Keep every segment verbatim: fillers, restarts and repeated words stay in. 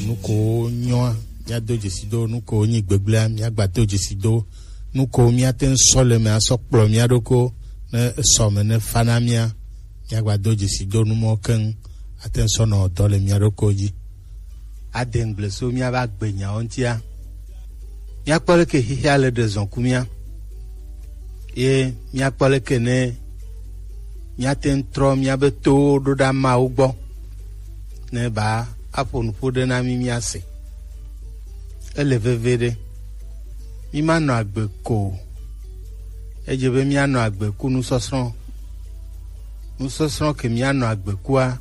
Nu ko nyɔa, míado dzesi do. Nu ko nyi gbegblẽa, míagba do dzesi do. Nu ko míate ŋu sɔ le eme asɔ kplɔ mía ɖokui ne esɔ me ne fa na mía, míagba do dzesi do nu mɔ keŋ ate ŋu sɔ nɔ dɔ le mía ɖokui dzi. Ade ŋgble so míaƒe agbenyawo ŋutia. Míakpɔ leke xexea le ɖe zɔn ku mía. Ye míakpɔ leke ne míate ŋu trɔ míaƒe towo ɖo ɖa Mawu gbɔ, ne ba aƒo nuƒo ɖe na mí míase. Ele veve ɖe. Mímanɔ agbe ko o. Edze be míanɔ agbe ku nusɔsrɔ̃. Nusɔsrɔ̃ ke míanɔ agbe kua,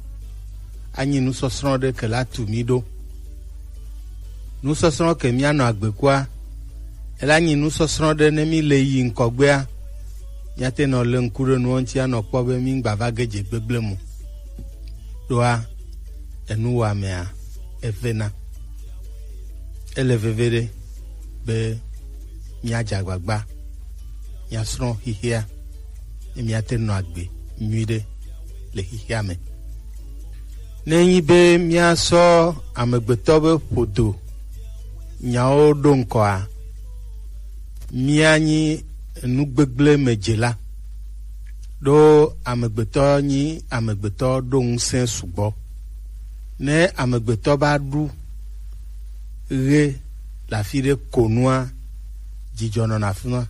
anyi nusɔsrɔ̃ ɖe ke la tu mí ɖo. Nusɔsrɔ̃ ke míanɔ agbe kua, ela nyi nusɔsrɔ̃ ɖe ne mí le yi ŋkɔgbea, míate nɔ le ŋku ɖe nuwo ŋuti anɔ kpɔ be mí ŋgba va ge dze gbegblẽ mu. Ɖoa, enuwɔamea, evena. Ele veve ɖe be míadze agbagba, míasrɔ̃ xexea, ne míate nɔ agbe nyuiɖe le xexea me. Ne enyi be míasɔ amegbetɔ be ƒodo nyawo ɖo ŋkɔa, míanyi nu gbegblẽ me dzela. Ɖo amegbetɔ nyi amegbetɔ ɖo ŋusẽ sugbɔ. Ne amegbetɔ va ɖu ɣe le afi ɖe ko nua, dzidzɔ nɔna afi ma.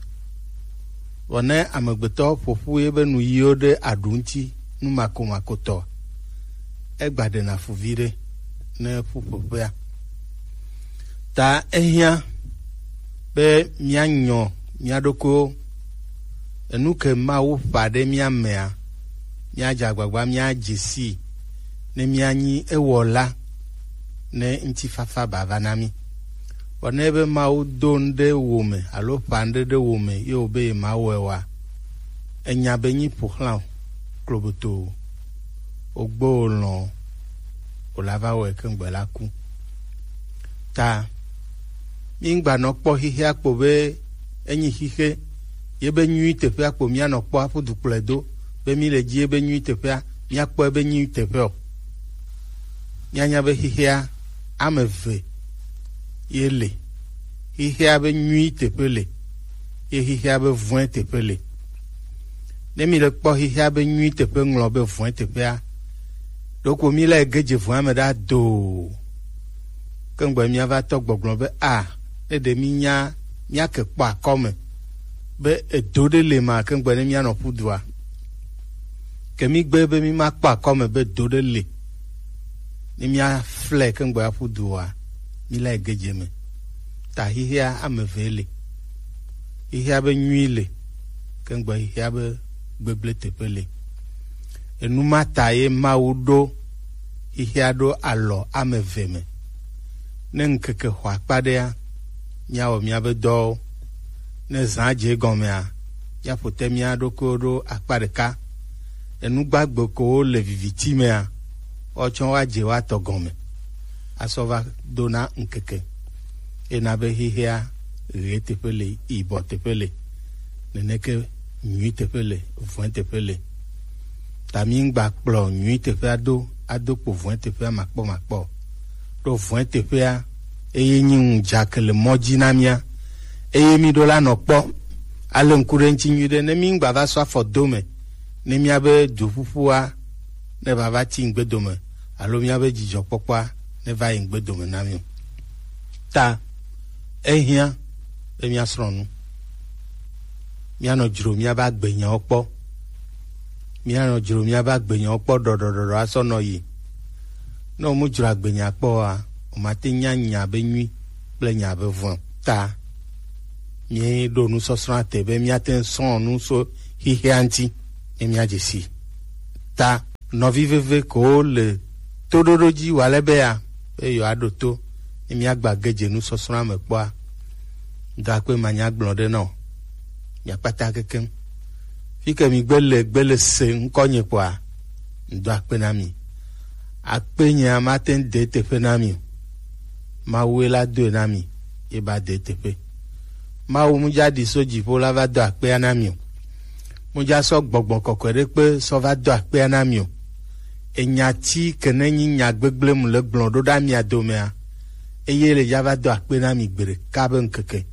Vɔ ne amegbetɔ ƒo ƒu yeƒe nuyiwo ɖe aɖu ŋuti, nu makomakotɔ, egba ɖena fu viɖe ne ƒuƒoƒea. Ta ehiã be míanyɔ mía ɖokuiwo. Enu ke Mawu ƒã ɖe mía mea, míadze agbagba míadze sii, ne míanyi ewɔla, ne ŋutifafa bava na mí. Vɔ ne be Mawu do nu ɖe wo me alo ƒã nu ɖe ɖe wo me ye wòbe yemawɔe oa, enya be nyi ƒo xlã o, kloboto o, wògbe wò lɔ̃ o, wòla va wɔe keŋgbe la ku. Ta míŋgba nɔ kpɔ xexea kpo be enyi xixe, ye be nyui teƒea kpo míanɔ kpɔ aƒu du kplɔe do, be mí le dzi ye be nyui teƒea, míakpɔe be nyui teƒe o. Míanya be xexea ame eve ye le. Xexea be nyui teƒe le, ye xexea be vɔ̃e teƒe le. Ne mí le kpɔ xexea be nyui teƒe ŋlɔ be vɔ̃e teƒea, ɖoko mí la ge dze vɔ̃a me ɖa doo. Keŋgbe míava tɔ gbɔgblɔ be a, ne ɖe mínya míake kpɔ akɔme be edo ɖe le ma keŋgbe ne míanɔ ƒu dua. Ke mígbe be mímakpɔ akɔme be do ɖe le. Ne míaflɛ keŋgbe aƒu dua, míla ge dze me. Ta xexea ame eve le. Xexea be nyui le, keŋgbe xexea be gbegblẽ teƒe le. Enu ma ta ye Mawu ɖo xexea ɖo alɔ ame eve me. Ne ŋkeke xɔ akpa ɖea, míawɔ míaƒe dɔwo. Ne zã dze egɔmea, míaƒo te mía ɖokuiwo ɖo akpa ɖeka. Enu gbagbe kowo le viviti mea, woatsɔ woadze woatɔ gɔme asɔ va do na ŋkeke. Ena be xexea ɣe teƒe le, yibɔ teƒe le, neneke nyui teƒe le, vɔ̃e teƒe le. Ta míŋgba kplɔ nyui teƒea do ado kpo vɔ̃e teƒea makpɔmakpɔ o. Ɖo vɔ̃e teƒea eye nyi ŋudzake le mɔ dzi na mía. Eye mí ɖo la nɔ kpɔ ale ŋku ɖe ŋuti nyuiɖe ne míŋgba va sɔ afɔ do me ne míabe duƒuƒua ne va va ti ŋgbedome alo míabe dzidzɔkpɔkpɔa ne va yi ŋgbedome na mí o. Ta ehiã be míasrɔ̃ nu. Míanɔ dzro míabe agbenyawo kpɔ. Míanɔ dzro míabe agbenyawo kpɔ ɖɔɖɔɖɔɖɔ asɔ nɔ yi. Ne wòmu dzro agbenya kpɔ oa, wòmate nya nya be nyui kple nya be vɔ̃. Ta míeɖo nusɔsrɔ̃a te be míate ŋu srɔ̃ nu so xexea ŋuti ne míadze sii. Ta nɔvi veve kowo le toɖoɖo dzi wòale be ya be yewoaɖo to ne míagba ge dze nusɔsrɔ̃a me kpɔa, ŋdɔ akpe manyagblɔ ɖe na wò. Mia kpata kekeŋ. Fi ke mi gbe le gbe le se ŋkɔnye kpɔa, ŋdɔ akpe na mi. Akpe nyea mate ŋu de teƒe na mi o. Mawue la doe na mi, ye ba de teƒe. Mawu mu dza ɖi so dziƒo la va do akpea na mi o. Mu dza sɔ gbɔgbɔ kɔkɔe ɖe kpe sɔ va do akpea na mi o. Enya ti ke ne nyi nya gbegblẽ mu le gblɔ ɖo ɖa mia domea, Eye le dza va do akpe na mi gbeɖeka be ŋkeke.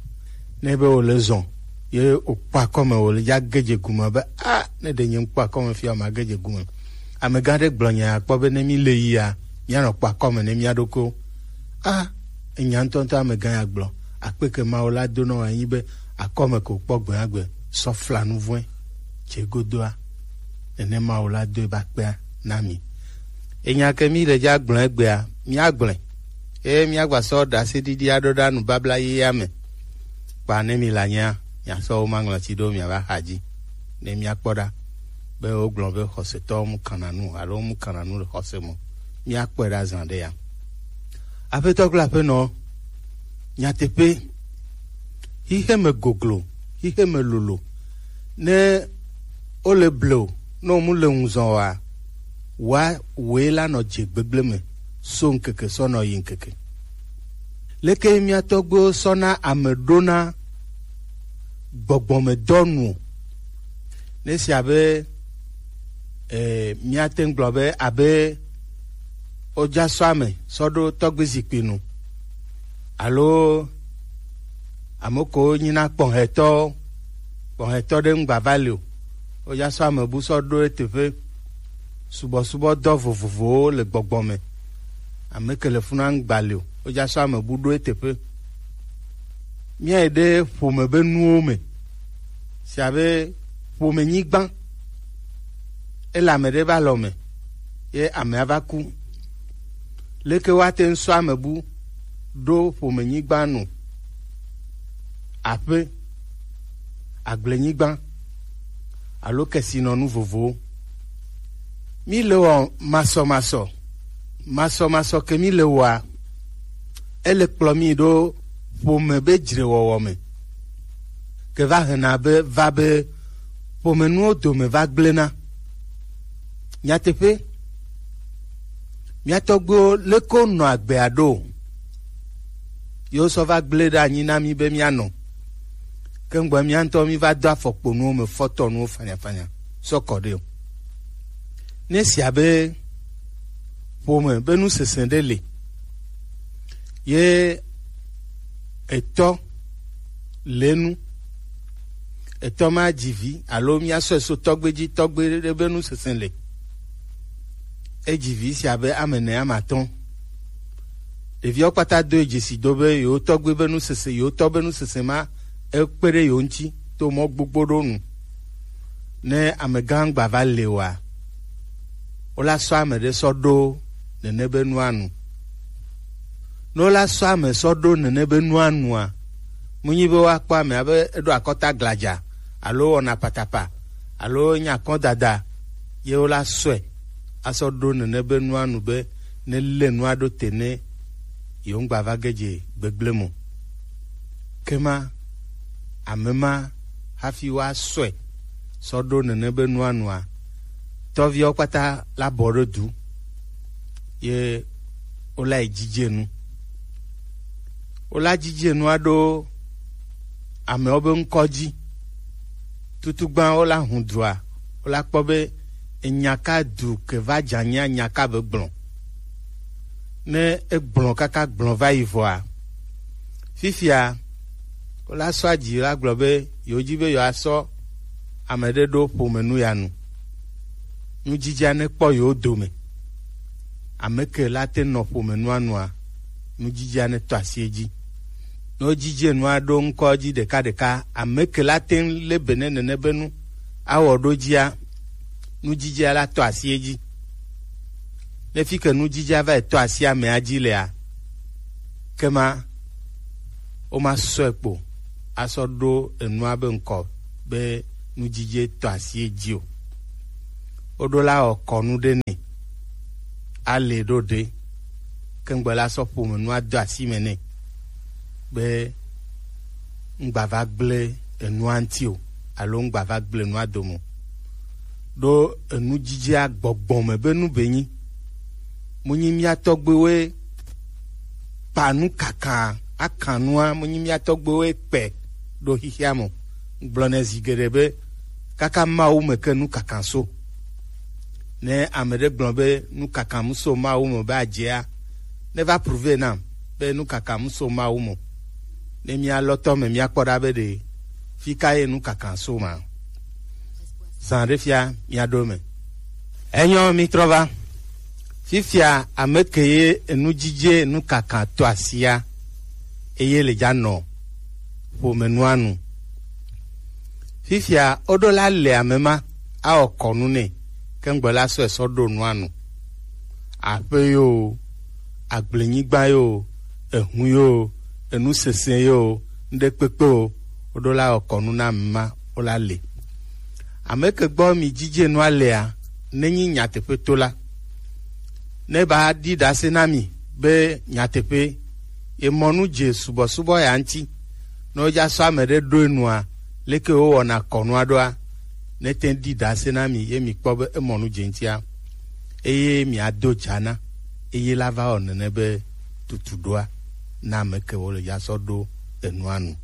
Ne be wòle zɔn, ye wòkpɔ akɔme, wòle dza ge dze gume be, a, ne ɖe nye ŋkpɔ akɔme fia, ma ge dze gume. Amegã ɖe gblɔ nya akpɔ be ne mi le yia, mianɔ kpɔ akɔme ne mia ɖokuiwo. A, enya ŋutɔŋutɔ amegã ya gblɔ. Akpe ke Mawu la do nɔ wò anyi be akɔme ko kpɔ gbe agbe sɔ fla nu vɔ̃e tse godoa. Nenema wòla do ebe akpea na mi. Enya ke mi le dza gblɔ egbea, mia gblɔe. Eye mia gba sɔ ɖaseɖiɖi aɖo ɖa nubabla yeyea me. Kpa ne mi la nyea, mia sɔ wo maŋlɔti ɖo mia va xa dzi. Ne mia kpɔ ɖa be wogblɔ be xɔsetɔwo mu kana nu alo mu kana nu le xɔse me. Mia kpɔe ɖa zã ɖe ya. Aƒetɔ kple aƒenɔ, nyateƒe, xixe me goglo, xixe me lolo. Ne wole ble o, ne wo mu le ŋu zɔn oa, wa woe la nɔ dze gbegble me so ŋkeke sɔ nɔ yi ŋkeke. Leke mia tɔgbuiwo sɔ na ame ɖo na gbɔgbɔme dɔ nu o? Ne si abe, eh, mia te ŋu gblɔ be abe wodza sɔ ame sɔ ɖo tɔgbi zikpui nu, alo ame ko nyina kpɔhɛtɔ, kpɔhɛtɔ ɖe ŋgba va li o, wodza sɔ ame bu sɔ ɖo eteƒe. Subɔsubɔdɔ vovovowo le gbɔgbɔ me. Ame ke le funa ŋgba li o, wodza sɔ ame bu ɖo eteƒe. Mía yi ɖe ƒome be nuwo me. Si abe ƒome nyigba. Ele ame ɖe be alɔ me, ye amea va ku. Leke woate ŋu sɔ ame bu ɖo ƒome nyigba nu? Aƒe, agblenyigba, alo kesinɔnu vovowo. Mi le wɔ masɔmasɔ, masɔmasɔ ke mi le wɔa, ele kplɔ mi ɖo ƒome be dzrewɔwɔ me. Ke va hena be, va be ƒomenuwo dome va gblẽna. Nyateƒe, mía tɔgbuiwo leke wonɔ agbea ɖo? Yewo sɔ va gblẽ ɖe anyi na mí be míanɔ. Ke ŋgbɔ mía ŋutɔ mí va do afɔkponuwo me fɔtɔnuwo fanyafanya sɔ kɔ ɖe o. Ne sia be ƒome be nusese ɖe le, ye etɔ le nu, etɔ ma dzi vi alo míasɔe so tɔgbe dzi, tɔgbe ɖe be nusese le. Edzi vi sia be ame ene, ame atɔ̃. Ɖeviawo kpata do dzesi do be yewo tɔgbe be nusese, yewo tɔ be nusese ma ekpe ɖe yewo ŋuti to mɔ gbogbo ɖo nu. Ne amegã gba va le oa, wola sɔ ame ɖe sɔ ɖo nene be nua nu. Ne wola sɔ ame sɔ ɖo nene be nua nua, mu nyi be woakpɔ ame abe eɖo akɔta gladza alo wɔna patapa alo nya kɔ dada, ye wola sɔe asɔ ɖo nene be nua nu be ne le nua ɖo te ne yewo ŋgba va ge dze gbegblẽ mo. Ke ma, ame ma hafi woasɔe sɔ ɖo nene be nua nua, tɔviawo kpata la bɔ ɖo du, ye wola yi dzidze nu. Wola dzidze nua ɖo amewo be ŋkɔ dzi. Tutugbã wola hu dua, wola kpɔ be enya ka du ke va dza nyea, nya ka be gblɔ. Ne egblɔ kaka gblɔ va yi vɔa, fifia wola sɔ adzi la gblɔ be yewo dzi be yewoasɔ ame ɖe ɖo ƒome nu ya nu. Nudzidzea ne kpɔ yewo dome. Ame ke la te nɔ ƒome nua nua, nudzidzea ne tɔ asi edzi. Ne wodzidze nua ɖo ŋkɔ dzi ɖekaɖeka, ame ke la te ŋu le be ne nene be nu awɔ ɖo dzia, nudzidzea la tɔ asi edzi. Ne fi ke nudzidzea va yi tɔ asi amea dzi lea, ke ma woma sɔe kpo asɔ ɖo enua be ŋkɔ be nudzidze tɔ asi edzi o. Woɖo la wɔ kɔnu ɖe nɛ, ale ɖo ɖe, ke ŋgbe la sɔ ƒome nua do asi me nɛ be ŋgba va gblẽ enua ŋuti o, alo ŋgba va gblẽ enua dome o. Ɖo enudzidzea gbɔgbɔ me be nu be nyi. Mu nyi mía tɔgbuiwoe kpa nu kaka, aka nua, mu nyi mía tɔgbuiwoe kpe ɖo xixia me o. Gblɔnɛ zi geɖe be kaka Mawu me ke nu kaka so. Ne ame ɖe gblɔ be nu kaka mu so Mawu me be adzea, ne va prouver nam. be nu kaka mu so Mawu mo. Ne mía lɔtɔ me mía kpɔ ɖa be ɖe fi ka ye nu kaka so ma. Zan ɖe fia mía ɖo me. Enyɔ mi trɔ va. Fifia ame ke ye enu dzidze nu kaka to asia eye le dza nɔ ƒome nua nu. Fifia woɖo la le ame ma awɔ kɔnu nɛ kengbe la sɔ esɔ ɖo nua nu. Aƒe yo, agblenyigba yo, ehu yo, enu sese yo, ŋɖe kpekpe o, woɖo la wɔ kɔnu na ame ma wo la le. Ame ke gbɔ mi dzidze nua lea, nenyi nyateƒe to la, ne ba ɖi ɖase na mi be nyateƒe ye mɔ nu dze subɔsubɔ ya ŋuti. Ne wodza sɔ ame ɖe ɖo enua, leke wowɔna kɔnua ɖoa? Ne te ɖi ɖase na mi ye mi kpɔ be emɔ nu dze ŋutia, eye miado dza na, eye la va wɔ nene be tutu ɖoa na ame ke wo le ya sɔ ɖo enua nu.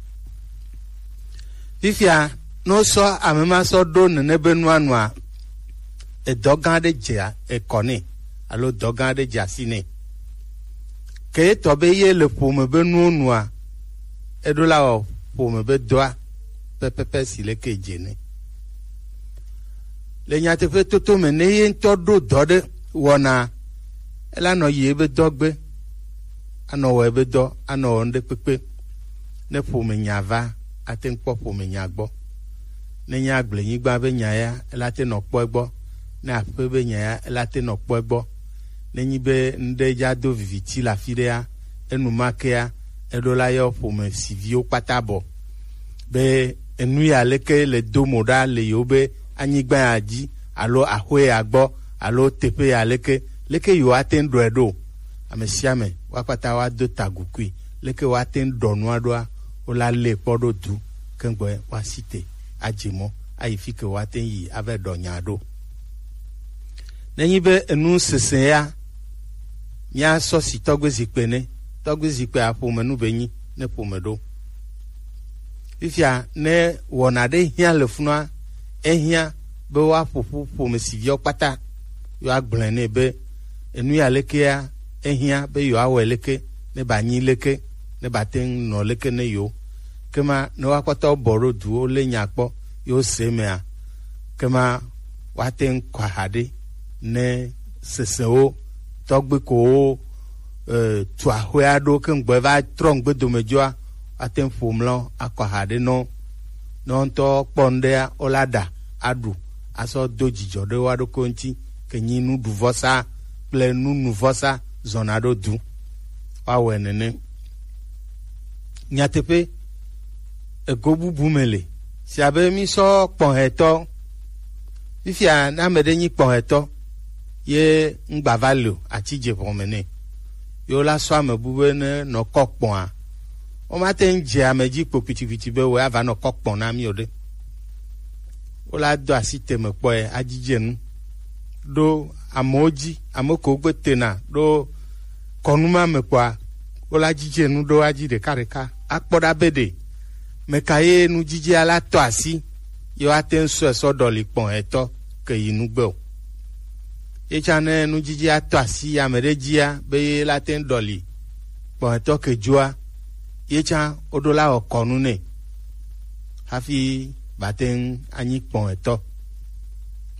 Fifia, ne wosɔ ame ma sɔ ɖo nene be nua nua, edɔ gã aɖe dze ekɔ nɛ alo dɔ gã aɖe dze asi nɛ. Ke etɔ be ye le ƒome be nuwo nua, eɖo la wɔ ƒome be dɔa pɛpɛpɛ si leke dze nɛ. Le nyateƒe toto me, ne ye ŋutɔ ɖo dɔ ɖe wɔna, ela nɔ yi ebe dɔ gbe, anɔ wɔ ebe dɔ, anɔ wɔ ŋɖe kpekpe. Ne ƒome nya va, ate ŋu kpɔ ƒome nya gbɔ. Ne nye agblenyigba be nya ya, ela te nɔ kpɔ egbɔ. Ne aƒe be nya ya, ela te nɔ kpɔ egbɔ. Ne nyi be ŋɖe dza do viviti le afi ɖea, enu ma kea, eɖo la yɔ ƒome si viwo kpata bɔ. Be enu ya leke le do mo ɖa le yewo be anyigba ya dzi alo axwe ya gbɔ alo teƒe ya leke, leke yewo ate ŋu ɖɔe ɖo? Ame sia ame woakpata woado tagukui. Leke woate ŋu ɖɔ nua ɖoa? Wola lée kpɔ ɖo du kengbe woasi te adze mɔ ayi fi ke woate ŋu yi ava ɖɔ nya ɖo. Nenyi be enu sese ya, míasɔ si tɔgbe zikpe ne, tɔgbe zikpe aƒome nu be nyi ne ƒome ɖo. Fifia ne wɔna ɖe hiã le funua, ehiã be woaƒo ƒu ƒome si viwo kpata, yewoagblɔe nɛ be enu ya lekea, ehiã be yewoawɔe leke, ne ba nyi leke, ne ba te ŋu nɔ leke ne yewo. Kema ne woakpata wobɔ ɖo duwo lé nya kpɔ, yewo se mea, kema woate ŋu kɔ aha ɖe ne sesewo tɔgbe ko wo e, tu axɔe aɖewo ke ŋgbɔ va trɔ ŋgbe dome dzɔa, ate ŋu ƒo mlɔ akɔ ha ɖe nɔ. Ne wo ŋutɔ kpɔ ŋɖea, wo la ɖa aɖu asɔ do dzidzɔ ɖe wo aɖokui ŋuti, ke nyi nuɖuvɔsa kple nunuvɔsa zɔna ɖo du. Woawɔe nene. Nyateƒe, ego bubu me le. Si abe mísɔ kpɔhɛtɔ. Fifia ne ame ɖe nyi kpɔhɛtɔ, ye ŋgba va le o, atsi dze ʋɔme nɛ. Ye wola sɔ ame bu be ne nɔ kɔ kpɔa, womate ŋu dze ame dzi kpo kpitikpiti be wòe ava nɔ kɔ kpɔ na mí o ɖe. Wola do asi teme kpɔe, adzidze nu ɖo amewo dzi, ame kewo gbe tena ɖo kɔnu ma me kpɔa, wola dzidze nu ɖo adzi ɖekaɖeka, akpɔ ɖa be ɖe meka ye nudzidzea la tɔ asi, ye woate ŋu sɔe sɔ ɖɔli kpɔhɛtɔ ke yi nugbe o. Ye tsã ne nudzidzea tɔ asi ame ɖe dzia, be ye la te ŋu ɖɔli kpɔhɛtɔ ke dzoa, ye tsã woɖo la wɔ kɔnu nɛ hafi bate ŋu anyi kpɔhɛtɔ.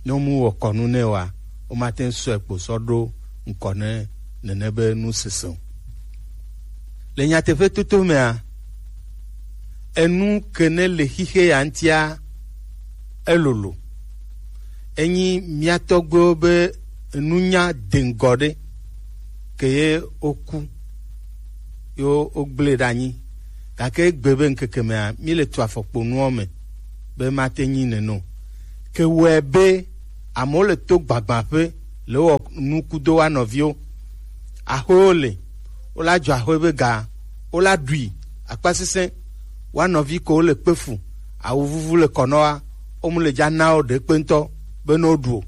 Ne womu wɔ kɔnu nɛ oa, womate ŋu sɔe kpo sɔ ɖo ŋkɔ ne nene be nu sese o. Le nyateƒe toto mea, enu ke ne le xixe ya ŋutia, elolo. Enyi mía tɔgbuiwo be nunya deŋgɔ ɖe ke ye woku, ye wogblẽ ɖe anyi. Gake egbe be ŋkeke mea, míle tu afɔkponuwo me be mate nyi nene o. Ke wɔe be amewo le to gbagbã ƒe le wɔ nukudo wa nɔviwo. Axwewo le, wola dzɔ axwe be ga, wola ɖui akpasesẽ. Wa nɔvi ko le kpe fu, awu vuvu le kɔ nɔ wa, wo mu le dza na wo ɖe kpe ŋutɔ be ne woɖu o.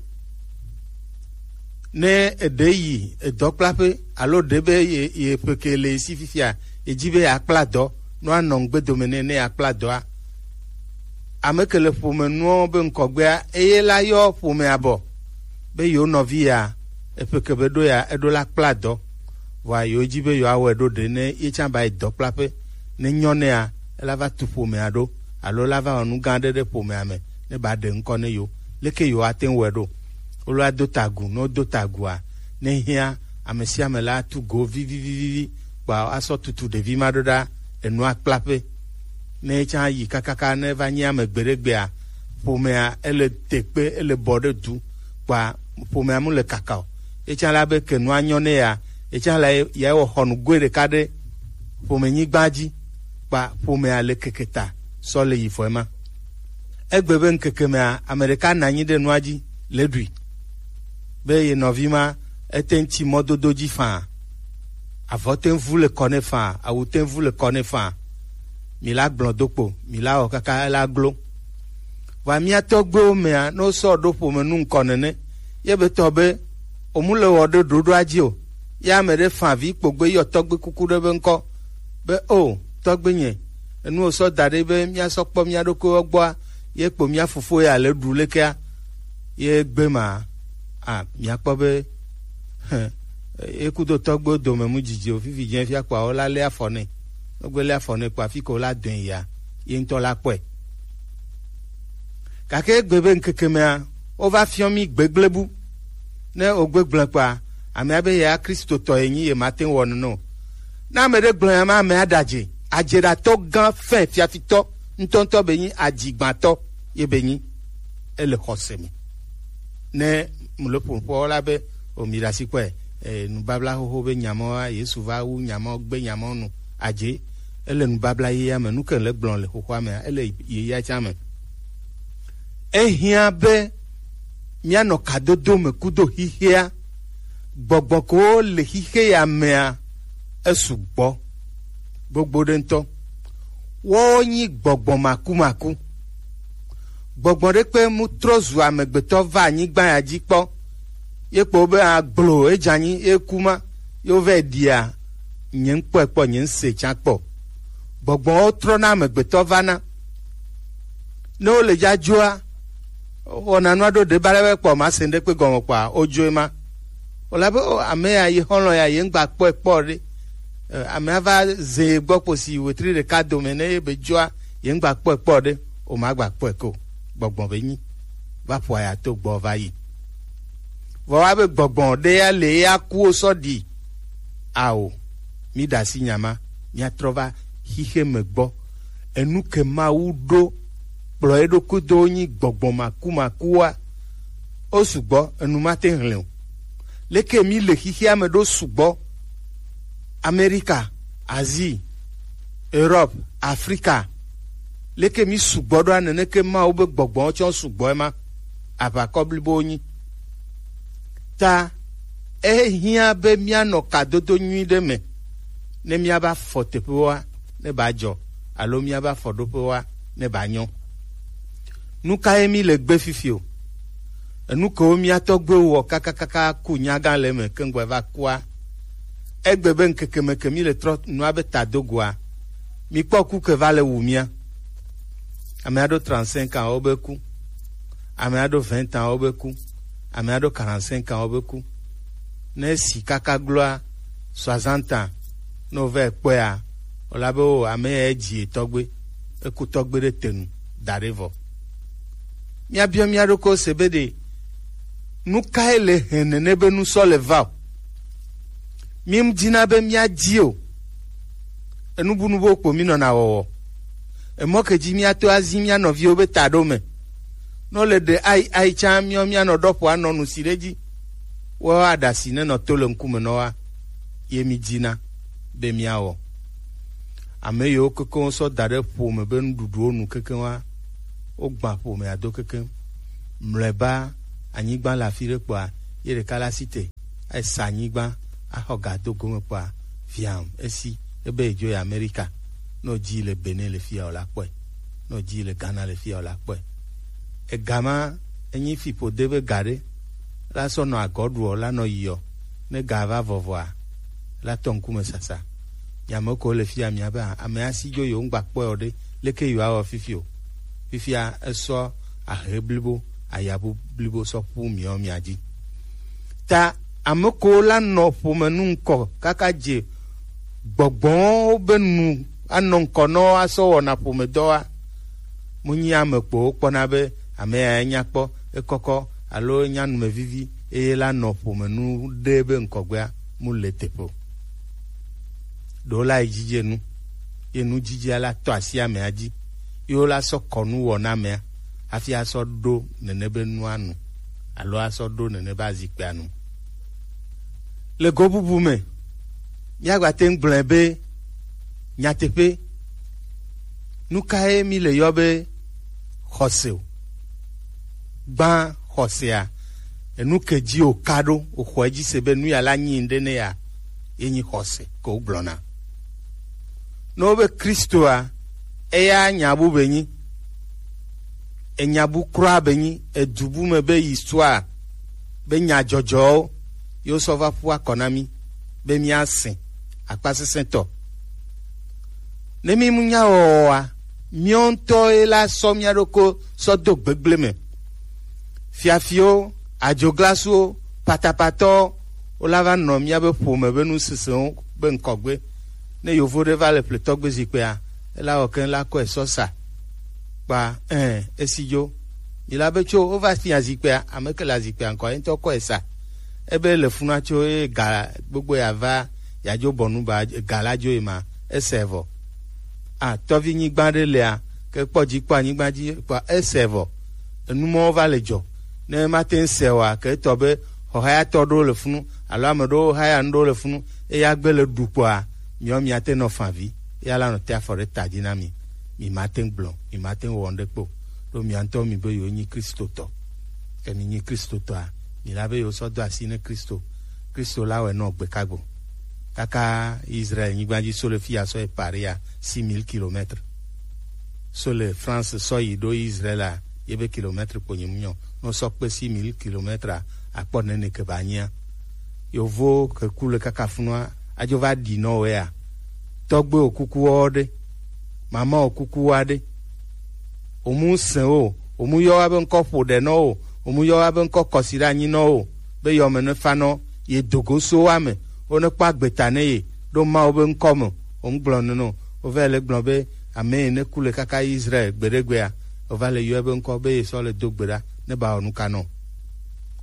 Ne eɖe yi edɔkplaƒe alo ɖe be ye, ye ƒe ke le si fifia, edzi be yeakpla dɔ, no anɔ ŋgbe dome nɛ ne yeakpla dɔa. Ame ke le ƒome nuɔ be ŋkɔgbea, eye la yɔ ƒomea bɔ be yewo nɔvi ya, eƒe ke be ɖo ya, eɖo la kpla dɔ. Vɔa yewo ji be yewoawɔe ɖo ɖe ne ye tsã ba yi dɔkplaƒe, ne nyɔ nɛa, ela va tu ƒomea ɖo, alo ela va wɔ nu gã aɖe ɖe ƒomea me, ne ba ɖe ŋkɔ ne yewo. Leke yewoate ŋu wɔe ɖo? Wolo ado ta agu, ne wodo ta agua, ne hiã, ame sia ame la atu go vivivivivi, kpa asɔ tutu ɖevi ma ɖo ɖa enua kplaƒe. Ne etsã yi kakaka ne va nyi ame gbeɖegbea, ƒomea ele te kpe, ele bɔ ɖe du, kpa ƒomea mu le kaka o. Etsã la be ke nua nyɔ ne ya, etsã la ya wɔ xɔnu goe ɖeka ɖe ƒomenyigba dzi, kpa ƒomea le keke ta sɔ le yi vɔe ma. Egbe be ŋkeke mea, ame ɖeka nɔ anyi ɖe nua dzi le ɖui be ye nɔvi ma ete ŋu tsi mɔdodo dzi faa. Avɔ te ŋu vu le kɔ nɛ faa, awu te ŋu vu le kɔ nɛ faa. Mi la gblɔ do kpo, mi la wɔ kaka ela glo. Vɔa mía tɔgbuiwo mea, ne wosɔ ɖo ƒome nu ŋkɔ nene, ye be tɔ be omu le wɔ ɖe ɖoɖoa dzi o. Ye ame ɖe fa vi kpogbe yɔ tɔgbe kuku ɖe be ŋkɔ be, o tɔgbe nye, enu wosɔ da ɖe be míasɔ kpɔ mía ɖokuiwo gbɔa, ye kpo mía fofo ya le ɖu lekea, ye gbe ma, a, míakpɔ be, hẽ, ye kudo tɔgbewo dome mu dzidzi o, fifi dze fia kpɔa, wola lé afɔ nɛ. Wogbe lé afɔ nɛ kpɔa, fi ke wola dɔe yia, ye ŋutɔ la kpɔe. Gake egbe be ŋkeke mea, wova fiɔ mí gbegble bu. Ne wogbe gblẽ kpɔa, amea be ya Kristotɔ ye nyi, ye mate ŋu wɔ nene o. Ne ame ɖe gblɔ ya ma, amea ɖe adze. Adzeɖatɔ gã fɛ, fiafitɔ ŋutɔŋutɔ be nyi, adzigbãtɔ ye be nyi. Ele xɔse me. Ne mu le ƒoƒo la be, o mi ɖe asi kpɔe, e, nubabla xoxo be nyamɔ, Yesu va wu nyamɔ, gbe nyamɔ nu. Adze, ele nubabla ye ya me, nu ke le gblɔ le xoxoa mea, ele ye ya tsã me. Ehiã be míanɔ kadodo me kudo xixea. Gbɔgbɔ kewo le xixe ya mea, esu gbɔ gbogbo ɖe ŋutɔ. Woawo nyi gbɔgbɔ makumaku. Gbɔgbɔ ɖe kpe mu trɔ zu amegbetɔ va anyigba ya dzi kpɔ. Ye kpɔ be agblo edze anyi, ye ku ma, ye wovɛ ɖia, nye ŋkpɔe kpɔ, nye ŋse tsã kpɔ. Gbɔgbɔwo trɔna amegbetɔ vana. Ne wole dzadzoa, wɔna nua ɖo ɖe ba ɖe be kpɔ ma se ŋɖe kpe gɔme kpɔa, wodzoe ma. Wòle abe, o, ame ya, ye xɔlɔ̃ ya, ye ŋgba kpɔe kpɔ ɖe. E, amea va ze ye gbɔ kposi wetri ɖeka dome ne ye be dzoa, ye ŋgba kpɔe kpɔ ɖe, o, magba kpɔe ko. Gbɔgbɔ be nyi. Va ƒoa ya to gbɔ va yi. Vɔ wa be gbɔgbɔ ɖe ya le ya kuwo sɔ ɖi. Ao, mi ɖe asi nya ma, míatrɔ va xixe me gbɔ. Enu ke Mawu ɖo kplɔ eɖokui do nyi gbɔgbɔ makumakua. Wo sugbɔ, enu ma te hlẽ o. Leke mi le xixea me ɖo sugbɔ? Amerika, Asie, Europe, Afrika. Leke mi sugbɔ ɖoa, neneke Mawu be gbɔgbɔwo tsɔ sugbɔ ema? Aʋakɔ blibowo nyi. Ta ehiã be míanɔ kadodo nyui ɖe me, ne míava fɔ teƒewoa, ne ba dzɔ, alo míava fɔ ɖoƒewoa, ne ba nyɔ. Nu kae mi le gbe fifi o? Enu kewo mía tɔgbuiwo wɔ kakakaka ku nyagã le eme keŋgbɔ va kua? Egbe be ŋkeke me ke mi le trɔ nua be tadogoa, mi kpɔ ku ke va le wu mía. Ame aɖo trente-cinq ans wobe ku. Ame aɖo vingt ans wobe ku. Ame aɖo quarante-cinq ans wobe ku. Ne si kaka gloa soixante ans, ne wovɛ kpɔea, wòla be, o, ame ya edzi etɔgbe, eku tɔgbe ɖe te nu da ɖe vɔ. Míabiɔ mía ɖokuiwo se be ɖe nu kae le hɛn nene be nu sɔ le va o? Mi dina be míadi o. Enubunubuwo kpo mi nɔna wɔwɔ. Emɔ ke dzi míato azi mía nɔviwo be taɖo me. Ne wole ɖe ai ai tsã míɔ míanɔ ɖɔ ƒo anɔ nu si ɖe dzi. Woawo aɖasi nenɔ to le ŋkume nɔ wa. Ye mi dina be míawɔ. Ame yiwo kekeŋ sɔ da ɖe ƒome be nuɖuɖuwo nu kekeŋ wa, wogbã ƒomea do kekeŋ. Mlɔeba, anyigba le afi ɖe kpɔa, ye ɖeka la si te, esa anyigba, axɔ ga do gome kpɔa, viam, esi, ebe yedzo yi Amerika. Ne wòdzi le Benin le fia, wòla kpɔe. Ne wòdzi le Ghana le fia, wòla kpɔe. Ega ma, enyi fiƒode be ga ɖe, la sɔ nɔ agɔ ɖuɔ, la nɔ yiɔ. Ne ga va vɔvɔa, la tɔ ŋkume sasa. Mi ame kewo le fia, mia be, a-, ame asi dzo yewo ŋgba kpɔe o ɖe, leke yewoawɔ fifi o? Fifia esɔ ahe blibo, ayabu blibo sɔ ƒu miɔ mia dzi. Ta Ame kewo la nɔ ƒome nu ŋkɔ kaka dze gbɔgbɔwo be nu anɔ ŋkɔ nɔ asɔ wɔna ƒomedɔ wa. Mu nyi ame kpowo kpɔna be ame ya enya kpɔ, ekɔkɔ alo enya numevivi eye la nɔ ƒome nu ɖe be ŋkɔgbea mu le teƒe o. Ɖewo la yi dzidze nu, ye nu dzidzea la tɔ asi amea dzi, ye wo la sɔ kɔ nu wɔ na amea hafi asɔ ɖo nene be nua nu alo asɔ ɖo nene be azikpea nu. Le go bubu me, míagba te ŋu gblɔe be nyateƒe, nu kae mi le yɔ be xɔse o? Gbã xɔsea, enu ke dzi o ka ɖo, o xɔ edzi se be nu ya la nyi ŋɖe ne ya, ye nyi xɔse ke wo gblɔna. Ne wo be Kristoa, eya nya bu be nyi, enya bu kura be nyi, edu bu me be histoire, be nyadzɔdzɔwo, ye wo sɔ va ƒu akɔ na mi be mía se akpasesẽtɔ. Ne mi mu nya wɔwɔa, míawo ŋutɔ ye la sɔ mía ɖokɔ sɔ do gbegble me. Fiafiwo, adzoglasuwo, patapatɔwo, wo la va nɔ míabe ƒome be nusinsɛnwo be ŋkɔgbe. Ne yovo ɖe va le ƒletɔgbe zikpuia, ela wɔ keŋ la kɔe sɔ sa. Kpa, ɛ, esi dzo. Mi la be tso wova fia zikpuia, ame ke le azikpuia ŋkɔ, ye ŋutɔ kɔe sa. Ebe le funa tso ye ga gbogbo ya va, ya dzo bɔnu ba ga la dzo ye ma, ese vɔ. A, tɔvi nyigba ɖe lea, ke kpɔ dzi kpɔ anyigba dzi kpɔ ese vɔ. Enu mɔwo va le dzɔ. Ne mate ŋu se oa, ke etɔ be xɔhayatɔ ɖewo le funu, alo ame ɖewo haya nu ɖewo le funu, eya gbe le ɖu kpɔa, miɔ miate nɔ favi, eya la nɔ te afɔ ɖe ta dzi na mi. Mi mate ŋu gblɔ, mi mate ŋu wɔ nu ɖe kpo. Ɖo mia ŋutɔ mi be yewo nyi Kristotɔ. Ke mi nyi Kristotɔa, mi la be yewo sɔ do asi ne Kristo. Kristo la wɛ nɔ gbe kagbo. Kaka Israel nyigba dzi so le fi ya sɔ yi Paris ya, six mille kilomètres. So le France sɔ yi ɖo Israel a, ye be kilomètre kpo nyi mu nyɔ. No sɔ kpe six mille kilomètres a, akpɔ nene ke ba nyia. Yovo ke ku le kaka funua, adzo va ɖi nɔ wɛ a. Tɔgbe o kuku wɔ ɖe, mama o kuku wa ɖe. Omu sɛn o, omu yɔ wa be ŋkɔ ƒo ɖe nɔ o, omu yɔ wa be ŋkɔ kɔsi ɖe anyi nɔ o, be yɔ me ne fa nɔ, ye dogo so wa me, wo ne kpɔ agbeta ne ye, ɖo Mawu be ŋkɔ me, o ŋgblɔ nene o. Wova le gblɔ be ame yi ne ku le kaka Israel gbeɖegbea, wova le yɔe be ŋkɔ be ye sɔ le do gbe ɖa ne ba wɔ nu ka nɔ.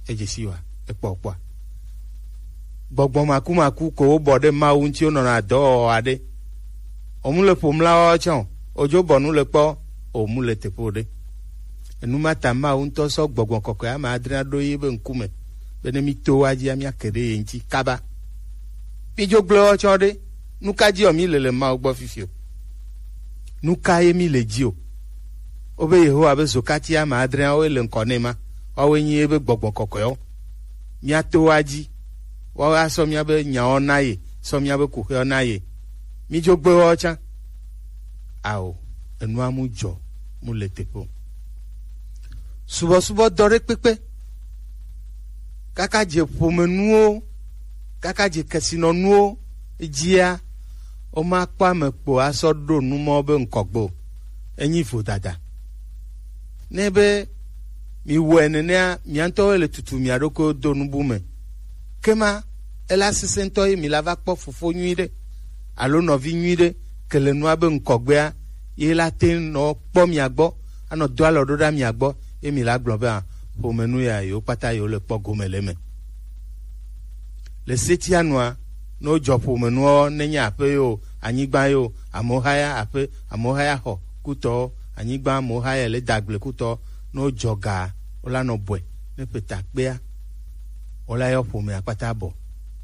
Edze si wa, ekpɔ kpɔa. Gbɔgbɔ makumaku ko wobɔ ɖe Mawu ŋuti wonɔna dɔ wɔwɔ aɖe. Omu le ƒo mla wɔ tsã o, odzo bɔ nu le kpɔ, omu le teƒe o ɖe. Enu ma ta Mawu ŋutɔ sɔ gbɔgbɔ kɔkɔe ame adre aɖo yi be ŋkume, be ne mi to wa dzia, mia ke ɖe ye ŋuti kaba. Mi dzo gblẽ wɔ tsɔ ɖe, nu ka dzi wɔ mi le le Mawu gbɔ fifi o? Nu ka ye mi le dzi o? Wobe Yehowa be zokati ame adreawo le ŋkɔ nɛ ma, woawoe nyi ebe gbɔgbɔ kɔkɔewo. Mia to wa dzi, woawo asɔ miabe nyawo na ye, sɔ miabe kuxewo na ye. Mi dzo gbe wɔ tsã. Ao, enua mu dzɔ, mu le teƒe o. Subɔsubɔ dɔ ɖe kpekpe. Kaka dze ƒomenuwo, kaka dze kesinɔnuwo dzia, womakpɔ ame kpo asɔ ɖo nu mɔ be ŋkɔgbe o. Enyi vodada. Ne be mi wɔe nenea, mia ŋutɔwoe le tutu mia ɖokuiwo do nubu me. Kema ela sesẽ ŋutɔ ye mi la va kpɔ fofo nyui ɖe alo nɔvi nyui ɖe ke le nua be ŋkɔgbea, ye la te nɔ kpɔ mia gbɔ, anɔ do alɔ ɖo ɖa mia gbɔ, ye mi la gblɔ be, a, ƒomenu ya yewo kpata yewo le kpɔ gome le eme. Le setia nua, ne wodzɔ ƒomenuawo, nenye aƒe yo, anyigba yo, amewo haya aƒe, amewo haya xɔ kutɔwo, anyigba amewo haya le dagble kutɔwo, ne wodzɔ ga, wola nɔ bɔe, ne ƒe ta kpea, wola yɔ ƒomea kpata bɔ,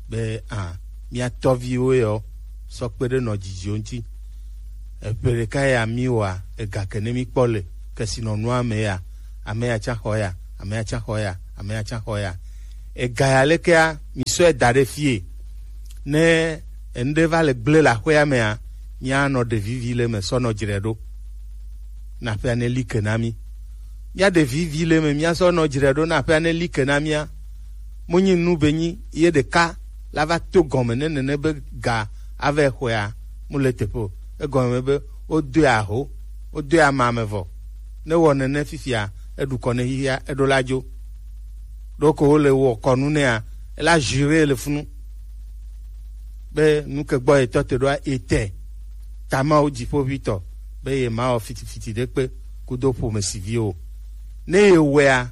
be, a, mia tɔviwo yɔ, sɔ kpe ɖe nɔ dzidziwo ŋuti. Eƒe ɖeka ya mi wɔa, ega ke ne mi kpɔ le kesinɔnua me ya, ame ya tsã xɔ ya, ame ya tsã xɔ ya, ame ya tsã xɔ ya. Ega ya lekea, mi sɔe da ɖe fie. Ne enu ɖe va le gblẽ le aƒea mea, míanɔ ɖe vivi le eme sɔ nɔ dzre ɖo. Na aƒea ne li ke na mí. Míaɖe vivi le eme míasɔ nɔ dzre ɖo na aƒea ne li ke na mía. Mu nyi nu be nyi ye ɖeka la va to gɔme ne nene be ga ava xɔea mu le teƒe o. Egɔme be wodoe aho, wodoe ama me vɔ. Ne wɔ nene fifia, eɖu kɔ ne xixia, eɖo la dzo. Ɖo ko wole wɔ kɔnu nɛa, ela jure le funu be nu ke gbɔ yetɔ te ɖoa, ete ta Mawu dziƒoʋitɔ be ye ma wɔ fitifiti ɖe kpe kudo ƒomesivi o. Ne ye wɔea,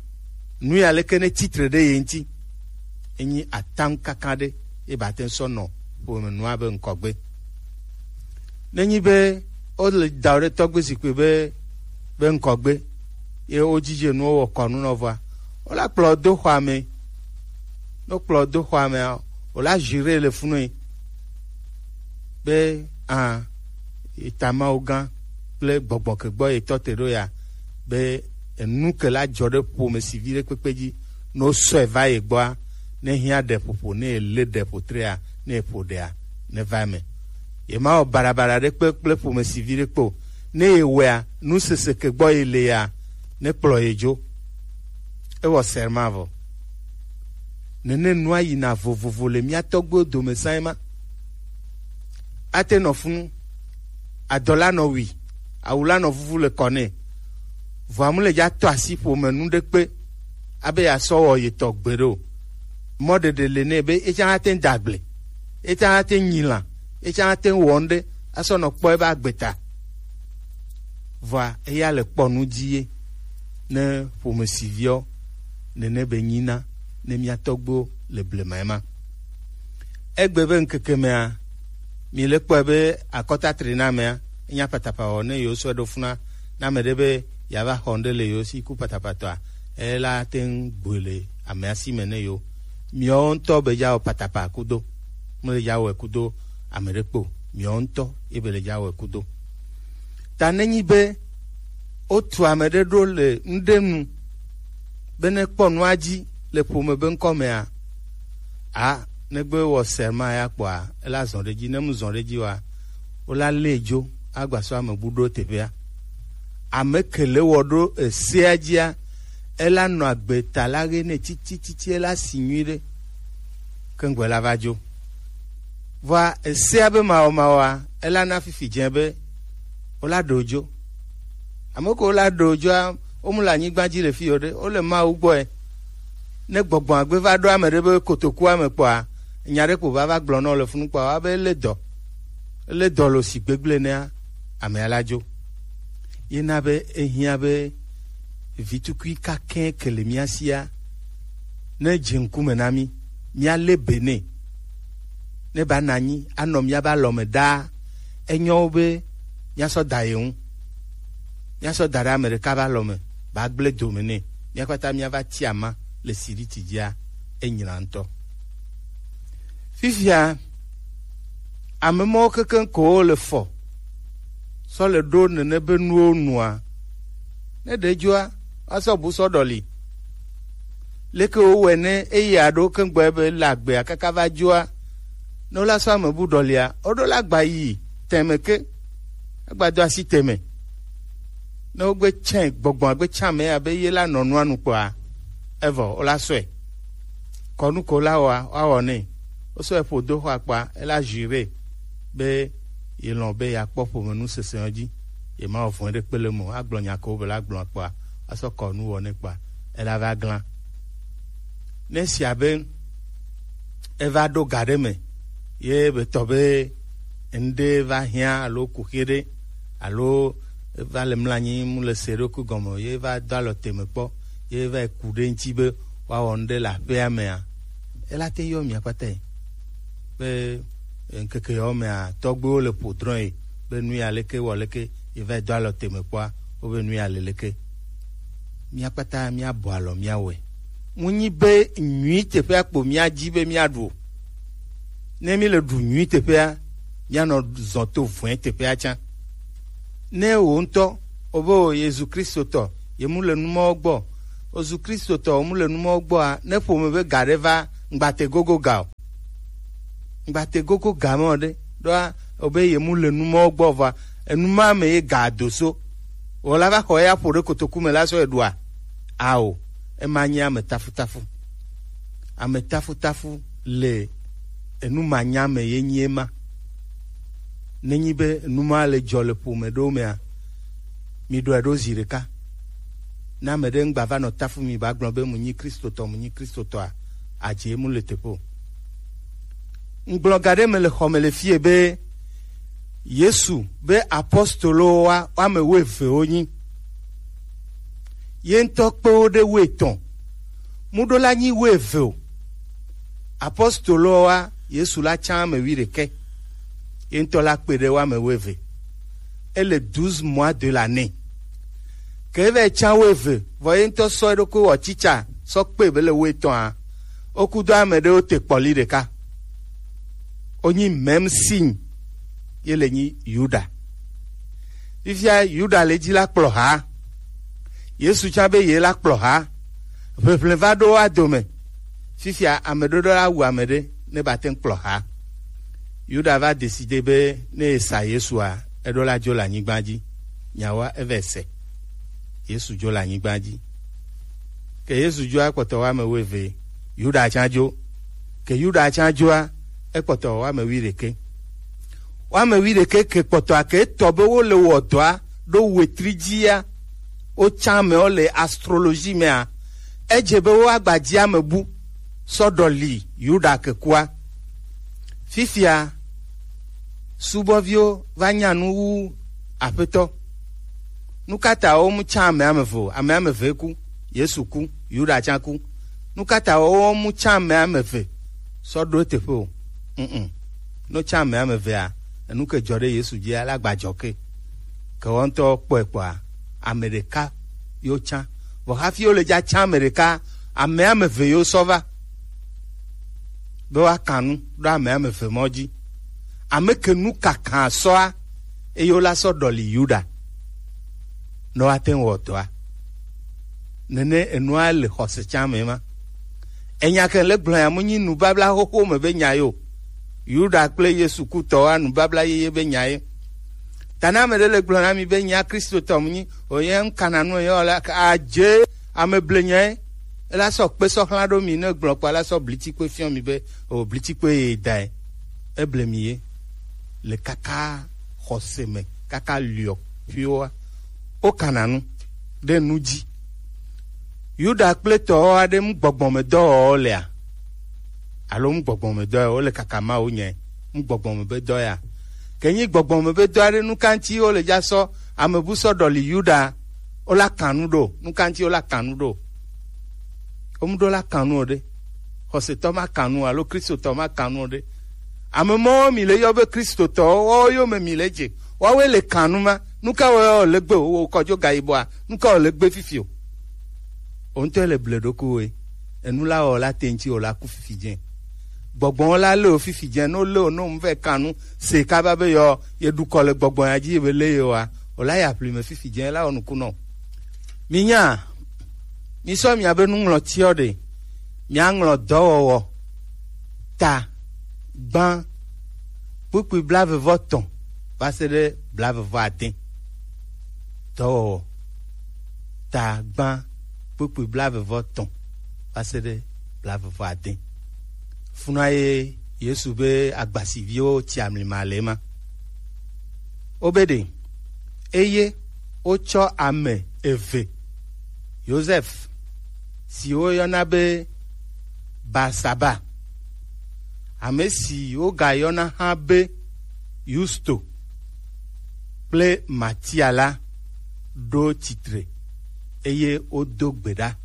nu ya leke ne titre ɖe ye ŋuti, enyi ataŋu kaka ɖe ye ba te ŋu sɔ nɔ ƒome nua be ŋkɔgbe. Nenyi be wole da ɖe tɔgbe zikpui be be ŋkɔgbe ye wodzidze nuwo wɔ kɔnu nɔ vɔa, wola kplɔ do xɔa me. Ne wokplɔ do xɔa mea, wola jure le funu be a, eta Mawu gã kple gbɔgbɔ ke gbɔ yetɔ te ɖo ya be enu ke la dzɔ ɖe ƒomesivi ɖe kpekpe dzi, ne wosɔe va ye gbɔa, ne hiã ɖe ƒoƒo, ne ye lé ɖe ƒo trea, ne ye ƒo ɖea, ne va eme. Ye ma wɔ baɖabaɖa ɖe kpe kple ƒomesivi ɖe kpe o. Ne ye wɔea, nu sese ke gbɔ ye le ya, ne kplɔ ye dzo. Ewɔ serment vɔ. Nene nua yina vovovo le mía tɔgbuiwo dome sã ema. Ate nɔ funu, adɔ la nɔ wui, awu la nɔ vuvu le kɔ nɛ. Vɔa mu le dza tɔ asi ƒome nu ɖe kpe abe yeasɔ wɔ yetɔ gbeɖe o. Mɔɖeɖe le nɛ be etsã ate ŋu da agble, etsã ate ŋu nyi lã, etsã ate ŋu wɔ nu ɖe asɔ nɔ kpɔ ebe agbe ta. Vɔa eya le kpɔ nu dzi ye ne ƒomesiviɔ nene be nyina ne mía tɔgbuiwo le blema ema. Egbe be ŋkeke mea, mi le kpɔe be akɔta tri na amea, enya patapawɔ ne yewo sɔe ɖo funa na ame ɖe be yeava xɔ nu ɖe le yewo si ku patapatɔa, ela te ŋu gbɔe le amea si me ne yewo. Miawo ŋutɔ be dza wɔ patapa kudo, mele dza wɔe kudo ame ɖe kpo, miawo ŋutɔ ye be le dza wɔe kudo. Ta nenyi be wotu ame ɖe ɖo le nu ɖe nu be ne kpɔ nua dzi le ƒome be ŋkɔ mea, a, negbe wɔ serment ya kpɔa, ela zɔ ɖe dzi, ne mu zɔ ɖe dzi wa, wola lé dzo agba sɔ ame bu ɖo teƒea. Ame ke le wɔ ɖo esea dzia, ela nɔ agbe ta la ɣe nɛ titititi, ela si nyui ɖe. Keŋgbɔ la va dzo. Vɔa esea be mawɔmawɔa, ela na fifi dze be wola ɖe wo dzo. Ame kewo la ɖe wo dzoa, wo mu le anyigba dzi le fi o ɖe, wo le Mawu gbɔe. Ne gbɔgbɔ agbe va ɖo ame ɖe be kotokua me kpɔa, nya ɖe kpo va va gblɔ nɔ le funu kpɔa, wa be ele dɔ, ele dɔ lo si gbegble nea, amea la dzo. Ye na be ehiã be vitukui kakɛ ke le mía sia, ne dze ŋkume na mí, mía lé be nɛ. Ne ba na anyi anɔ mía be alɔ me ɖaa, enyo be mía sɔ da ye ŋu. Mía sɔ da ɖe ame ɖeka be alɔ me, ba gblẽ dome nɛ. Mía kpata mía va ti ama le siriti dzia, enyla ŋutɔ. Fifia, ame mɔwo kekeŋ ko wo le fɔ sɔ le ɖo nene be nuwo nua. Ne ɖe dzoa, woasɔ bu sɔ ɖɔli. Leke wowɔe ne eya ɖo keŋgbɔ be le agbea kaka va dzoa, ne wola sɔ ame bu ɖɔlia, woɖo la gba yi tɛmɛ ke, agba do asi tɛmɛ. Ne wogbe tsɛ gbɔgbɔ agbe tsɛ ame ya be ye la nɔ nua nu kpɔa, evɔ wola sɔe. Kɔnu ko la wɔa, woawɔ nɛ. Wosɔe ƒo do xɔ akpa, ela jure be ye lɔ̃ be yeakpɔ ƒomenu sesẽ dzi. Ye ma wɔ vɔ̃e ɖe kpe le mo, agblɔ nya ko be la gblɔ akpa, asɔ kɔnu wɔ nɛ kpa, ela va glã. Ne sia be eva ɖo ga ɖe me, ye be tɔ be ŋɖe va hiã alo kuxi ɖe, alo eva le mlanyi mu le se ɖokui gɔme, ye va do alɔ teme kpɔ, ye va yi ku ɖe ŋuti be woawɔ ŋɖe le aƒea mea, ela te yɔ mia kpata yi. Be ŋkeke yawo mea, tɔgbuiwo le ƒo drɔ̃ yi be nu ya leke wɔ leke, ye va yi do alɔ teme kpɔa, wobe nu ya le leke. Mia kpata mia bɔ alɔ mia wɔe. Mu nyi be nyui teƒea kpo mia dzi be mia ɖu o. Ne mi le ɖu nyui teƒea, mia nɔ zɔ to vɔ̃e teƒea tsã. Ne wò ŋutɔ, o be o Yesu Kristo tɔ, ye mu le numɔwo gbɔ. O Yesu Kristo tɔ, o mu le numɔwo gbɔa, ne ƒome be ga ɖe va, ŋgbate gogo ga o. Ŋgbate gogo ga me o ɖe, ɖoa, o be ye mu le numɔwo gbɔ va, enu ma me ye ga do so. Wɔ la va xɔ ya ƒo ɖe kotoku me la sɔ eɖua. Ao, ema nye ame tafutafu. Ame tafutafu le enu manya me ye nyi ema. Nenyi be nu ma le dzɔ le ƒome ɖewo mea, mi ɖɔe ɖo zi ɖeka. Ne ame ɖe ŋgba va nɔ tafu mi ba gblɔ be mu nyi Kristotɔ, mu nyi Kristotɔa, adze mu le teƒe o. Ŋgblɔ ga ɖe me le xɔ me le fie be Yesu be apostolowo wa woame wuieve wonyi. Ye ŋutɔ kpe wo ɖe wuietɔ̃. Mu ɖo la nyi wuieve o. Apostolowo wa Yesu la tsã ame wuiɖekɛ. Ye ŋutɔ la kpe ɖe woame wuieve. Ele douze mois de l'année. Ke eva yi tsã wuieve, vɔ ye ŋutɔ sɔ eɖokui wɔ tsitsa sɔ kpe be le wuietɔ̃a, woku do ame ɖewo te kpɔli ɖeka. Wonyi même signe ye le nyi Yuda. Fifia Yuda le dzi la kplɔ ha. Yesu tsã be ye la kplɔ ha. Ʋeʋlẽ va ɖo wa dome. Fifia ame ɖoɖo la wu ame ɖe ne ba te ŋu kplɔ ha. Yuda va décidé be ne esa Yesua, eɖo la dzo le anyigba dzi. Nyawoa eva se. Yesu dzo le anyigba dzi. Ke Yesu dzoa ekpɔtɔ woame wuieve, Yuda tsã dzo. Ke Yuda tsã dzoa, ekpɔtɔ woame wuiɖekɛ. Woame wuiɖekɛ ke kpɔtɔa ke etɔ be wole wɔ dɔa ɖo wetri dzia, wotsã amewo le astrologie mea, edze be woagba dzi ame bu sɔ ɖɔli Yuda ke kua. Fifia, subɔviwo va nya nu wu aƒetɔ. Nu ka ta wo mu tsã ame ame eve o? Ame ame eve ku, Yesu ku, Yuda tsã ku. Nu ka ta wo mu tsã ame ame eve sɔ ɖo eteƒe o? Mm. No tsã ame ame evea, enu ke dzɔ ɖe Yesu dzia, la gba dzɔ ke. Ke wo ŋutɔ kpɔe kpɔa, ame ɖeka yo tsã. Vɔ hafi wo le dza tsã ame ɖeka, ame ame eve yo sɔ va. Be woaka nu ɖo ame ame eve mɔ dzi. Ame ke nu kaka sɔa, eye wola sɔ ɖɔli Yuda ne woate ŋu wɔ dɔa. Nene enua le xɔse tsã me ma. Enya ke le gblɔ ya mu nyi nubabla xoxo me be nya yo. Yuda kple Yesu kutɔwoa nubabla yeye be nya ye. Ta ne ame ɖe le gblɔ na mi be nya Kristotɔ mu nyi, o ye ŋkana nu ye wala adze ame ble nya ye. Ela sɔ kpe sɔ xlã ɖo mi ne gblɔ kpa la sɔ blitsi kpe fiɔ mi be o blitsi kpe ye da ye. Eble mi ye le kaka xɔse me kaka liɔ ƒuiwoa. Wokana nu ɖe nu dzi. Yuda kple tɔwo aɖe ŋu gbɔgbɔmedɔwɔwɔ lea? Alo ŋu gbɔgbɔmedɔ ya wole kaka Mawu nye ŋu gbɔgbɔme be dɔ ya? Ke nyi gbɔgbɔme be dɔ aɖe nu ka ŋuti wole dza sɔ ame bu sɔ ɖɔli Yuda, wola kanu ɖo, nu ka ŋuti wola kanu ɖo? Womu ɖo la kanu o ɖe. Xɔsetɔ ma kanu alo Kristotɔ ma kanu o ɖe. Ame mɔwo mi le yɔ be Kristotɔwo, woawo yome mi le dze. Woawoe le kanu ma. Nu ka wɔ le gbe wo kɔdzo ga yibɔa? Nu ka wɔ le gbe fifi o? O ŋutɔ le ble ɖokuiwoe. Enu la wɔ la te ŋuti o la ku fifi dze. Gbɔgbɔ la le o fifi dze, no le o no ŋu vɛ kanu se kaba be yɔ ye ɖukɔ le gbɔgbɔ ya dzi ye be le ye wa. O la ya ƒli me fifi dze la wɔ nukunɔ. Minya, misɔ miabe nuŋlɔtiɔ ɖe, miaŋlɔ dɔwɔwɔ ta gbã kpukpui blaeve vɔ tɔ̃ va se ɖe blaeve vɔ ade. Dɔwɔwɔ ta gbã kpukpui blaeve vɔ tɔ̃ va se ɖe blaeve vɔ ade. Funa ye Yesu be agbasiviwo tsi amlima le ema. Wobe ɖe, eye wotsɔ ame eve, Yosef, si woyɔna be Barsaba, ame si wogayɔna hã be Yusto, kple Matia la ɖo tsitre, eye wodo gbe ɖa.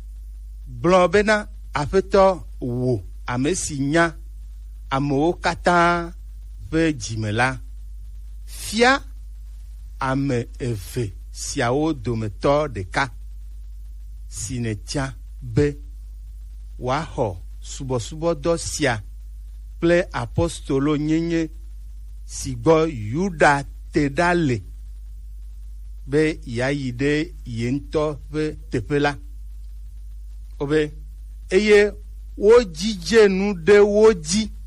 Gblɔ bena, Aƒetɔ, wò ame si nya amewo katã ƒe dzi me la, fia ame eve siawo dometɔ ɖeka si nètia be wòaxɔ subɔsubɔdɔ sia kple apostolo nyenye si gbɔ Yuda te ɖa le, be yeayi ɖe ye ŋutɔ ƒe teƒe la. Wobe, eye wodzidze nu ɖe wo dzi